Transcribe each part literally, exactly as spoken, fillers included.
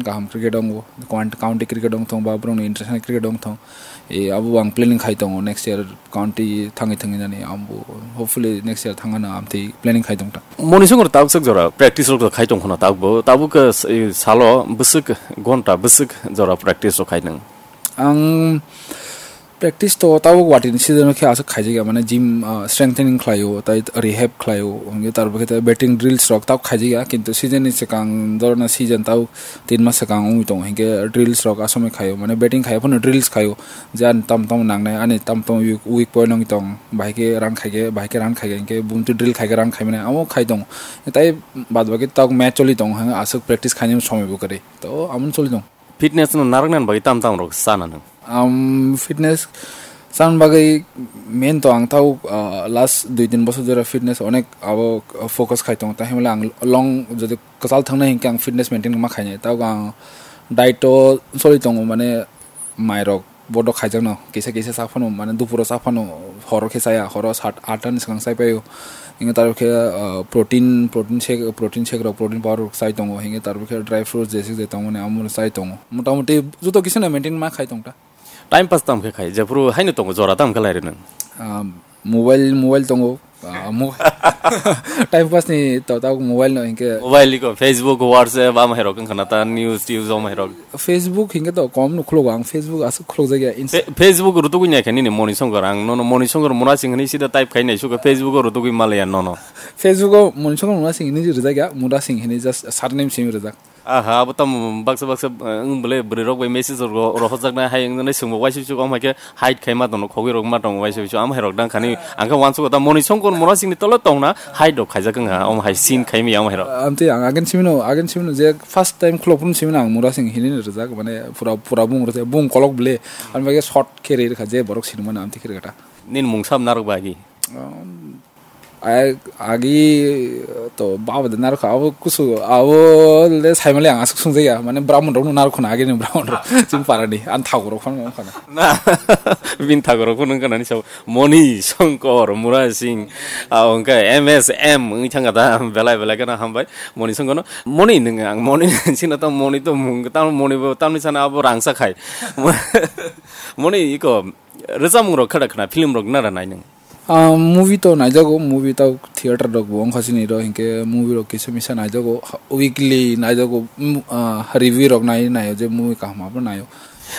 kaham cricket wngo, count-, county cricket wng thung ba borokni international cricket wng thung. E, abo ang planning khai tongo next year county thangwi thangwi nani abo hopefully next year thangna amtwi planning khai tongta. Moni songor tabuk sak jora practice rok khai tong khna tabuk bo tabuk, eh, salo bwswk gonta bwswk jora practice rok khai nang. Ang practice to tabuk watini season khe aswk khaijak ya, mane gym, ah, strengthening khlaio, tai rehab khlaio, hwnkhe tarpor khe tai batting drills rok tabuk khaijak ya, kintu season ni swkang dorna season tabuk tin mas swkang wngwi tongo, hinkhe drills rok asomwi khaio, mane batting khai phano drills khaio, je ani tam tam nangnai, ani tam tam weak, weak point wngwi tong, bahai khe run khaikhe, bahai khe run khaikhe, hinkhe bumtwi drill khaikhe run khaimani, amo khai tongo. Tai bad baki tabuk match choli tongo, hwnkhe aswk practice khainani somoi bo kwrwi, to amo choli tongo. Fitness no narwknani bagwi tam tam rok sana nang? Am, fitness sana bagwi main to ang tau, ah, last dui tin bosor jora fitness onek abo focus khai tongo, tai hwnle ang long jodi kwchal thangnai hinkhe ang fitness maintain ma khainai. Tau ang diet o choli tongo, mane mairok bodo khaijakno kisa kisa cha phano, mane dupuro cha phano, horo khe chaya, horo sat atta ni swkang chai paio. Inge tarpor khe, ah, protein, protein shake, protein shake rok, protein powder rok chai tongo. Hinge tarpor khe dry fruits jesik je tongmani amo chai tongo. Motamoti joto kisa no maintain ma khai tongta. Time pass tam khe khai, jephuru haino tongo jora tam khe lai rwnang. Ah, mobile, mobile tongo. Ah, mo-, time pass ni to, to mobile no hinke. Mobile ko Facebook, WhatsApp, am hai rok wngkha na ta news, news am hai rok. Facebook hinke to kom no khulok ang, Facebook aswk khulok jagya. Inst- Fe-, Facebook rutugwi nai khe nini Moni Songkor, ang nono Moni Songkor mura sing hini sida type khai nai suka Facebook rutugwi malaya nono. Facebook o Moni Songkor mura sing hini rijak ya, mura sing hini just surname simi rijak. Aha, abo tamo baksa baksa, eh, wng bole bwrwi rok bai message ro-, rohorjaknai hai wngjaknai swngbo waisa waisa kom hai khe hide khai ma tongo, khogwi rok ma tongo waisa waisa, am hai rok dang khani ang khe uansukgo ta Moni Songkor mura singni tolo tongna hide rok khaijak wng ha, omo hai scene khai maya omo hai rok. Amtwi ang again simino, again simino je first time khulok phuru simino ang mura sing hini rijak, mane pura, pura bung rwjak, bung kolok bole, ang bai khe short khe ri rwkha je borok sinimano amtwi khe rwkha ta. Nini mung sam narwk ba agi? Um, Ai, agi to baba de narwkha, abo kusu, abo le saimali ang aswk sungjakya, mane Brahman rokno narwkha na, agini Brahman rok, chini parani, ang thago rok phano wngkha na. Na, bini thago rok phano wngkha nani sabo, Moni Songkor, Mura Singh, ah, wngkha M S M, wngwi thangkha ta, belai belai kheno hambai, Moni Songkor no, Moni nwng ang, Moni sino ta, Moni to mung, tamo Moni bo, tamni sana abo rangsa khai. Moni iko, rwchapmung rok khada khna, film rok nara nai nwng? Ah, movie to naijago, movie to theater rok bo wngkha chini ro, hinkhe movie rok kisa misa naijago, weekly naijago, mm, ah, review rok nai, naio je movie kaham abo naio.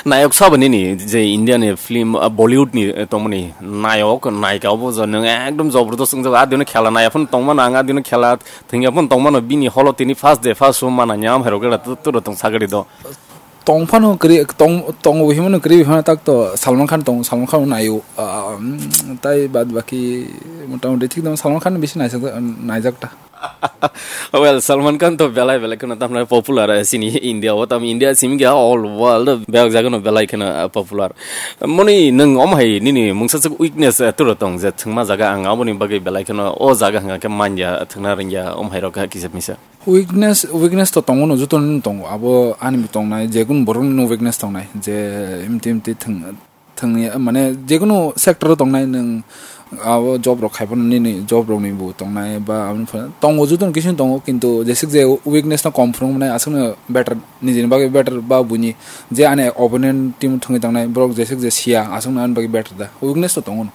Nayok sabo nini je India ni film, ah, Bollywood ni, eh, tongmani nayok, nayika obo je nwng ekdom jobordast wngjago, adino khela naiya phano tongmano ang, adino khela thwngya phano tongmano bini holo tini first day, first show mana nyam hai rok era tu, tu rok tong sagari do. Tong phano kwrwi, tong, tongo himano kwrwi phano tak to Salman Khan tongo, Salman Khan naio, ah, mm, tai bad baki motamoti thik dong, Salman Khan bisi naijak, naijak ta. Well, Salman Khan to belai belai kheno tamna popular, eh, sini India o, tam India simi khe all world bek jaga no belai kheno, eh, popular. Moni nwng om hai nini mungsa suk weakness, eh, turo tong je thwngma jaga ang aboni bagwi belai kheno o jaga hwnga khe manya thwngna rwngya om hai rok kisa misa. Weakness, weakness to tongo no, joto no tongo. Abo ani bo tongnai, je kunu borok no weakness tongnai. Je imti imti thwng, thwngya, mane je kunu sector o tongnai nwng, abo job rok khai phano nini job rok ni bo tongnai ba abo phano tongo, joto no kisa tongo, kintu jesik je weakness no kom phunuk mane aswk no better, nijini bagwi better ba buini je ani opponent team thwngwi tongnai borok jesik je siya aswk no ani bagwi better da, weakness to tongo no.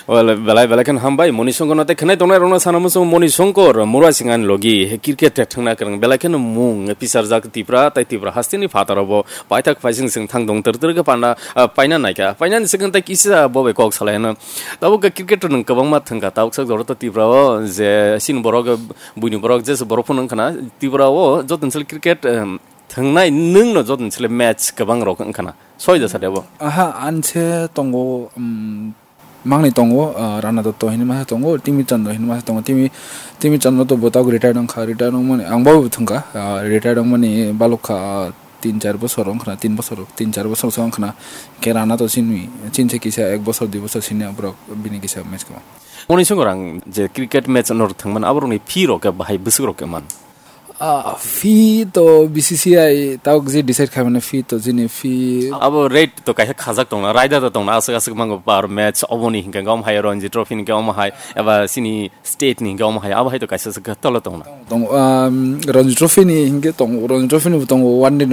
Well, belai belai kheno hambai, Moni Songkor no tei khenai tongnai rokno sana muchung Moni Songkor, Mura Singh ani logi, he cricket thwngna kwrwng, belai kheno mung pisarjak Tipra, tei Tipra hasteni phataro bo paithak phaising sing thang dong, ter ter khe panda, ah, paina naikha, painani swkang tei kisa bo bai kok salai hino. Tabuk khe cricket nwng kwbangma thwngkha, tabuk sak jora to Tipra o je sini borok, buini borok, je borok phano wngkhana, Tipra o joto ni sal cricket, em, thwngnai nwng no joto ni sal match kwbang rok wngkhana, soi da sa de bo? Aha, anse tongo, um, Mangni tongo, ah, Rana Dotto hinwi masa tongo, Timi Chandra hinwi masa tongo. Timi, Timi Chandra to bo tabuk retired wngkha, retired wngmani, ang bo thwngkha, ah, retired wngmani balukha, ah, tin char bosor wngkhana, tin bosor, tin char bosor se wngkhana. Khe Rana to chini, chinse kisa ek bosor, dui bosor sini borok bini kisa match kwbang. Moni Songkor ang je cricket match nor thwngmani, aborokni fee rok khe bahai bwswk rok khe man? Ah, fee to B C C I tabuk je decide khaimani fee to chini fee. Abo rate to kaisa khajak tongna, raida to tongna, aswk aswk mango per match, oboni hinkhe gom hai Ranji Trophy hinkhe omo hai, eba chini state ni hinkhe omo hai, abo hai to kaisa se tolo tongna. Tong, um, Ranji Trophy ni hinkhe tong, Ranji Trophy ni bo tongo, one day no